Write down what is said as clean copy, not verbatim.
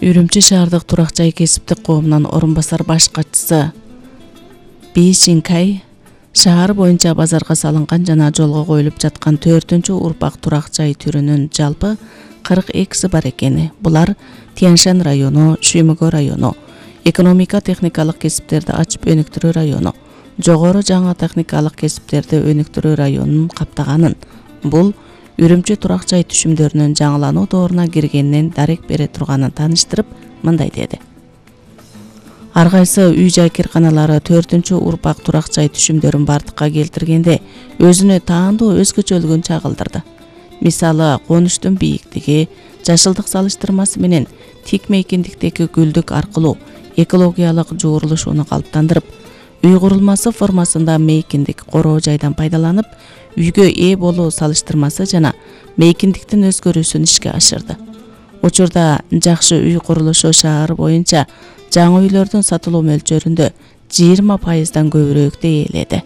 Үрүмчү шаардык турак жай кесиптик коомунун орун басар баш катчысы Би Шинкай шаар боюнча базарга салынган жана жолго коюлуп жаткан 4-урпак турак жай түрүнүн жалпы 42 бар экени. Булар Тяньшань району, Шүймөгө району, экономика техникалык кесиптерди ачып өнүктүрүү району, жогору жаңы техникалык кесиптерди өнүктүрүү районун каптаганын. Бул Үрүмчү турак жай түшүмдөрүнүн жаңылануу дооруна киргенинен дарек бере турганын тааныштырып, мындай деди. Ар кайсы үй-жай кирканалары 4-урпак турак жай түшүмдөрүн бардыкка келтиргенде өзүнө таандуу өзгөчөлүгүн чагылдырды. Мисалы, конуштун бийиктиги, жашылдык салыштырмасы менен тик мейкиндиктеги гүлдүк аркылуу экологиялык жуурулушууну калыптандырып, үй курулмасы формасында мейкиндик короо жайдан пайдаланып, үйгө ээ болуу салыштырмасы жана мейкиндиктин өзгөрүүсүн ишке ашырды. Учурда жакшы үй курулушу шаар боюнча жаңы үйлөрдүн сатылуу мөлчөрүндө 20%дан көбүрөөк дээрледи.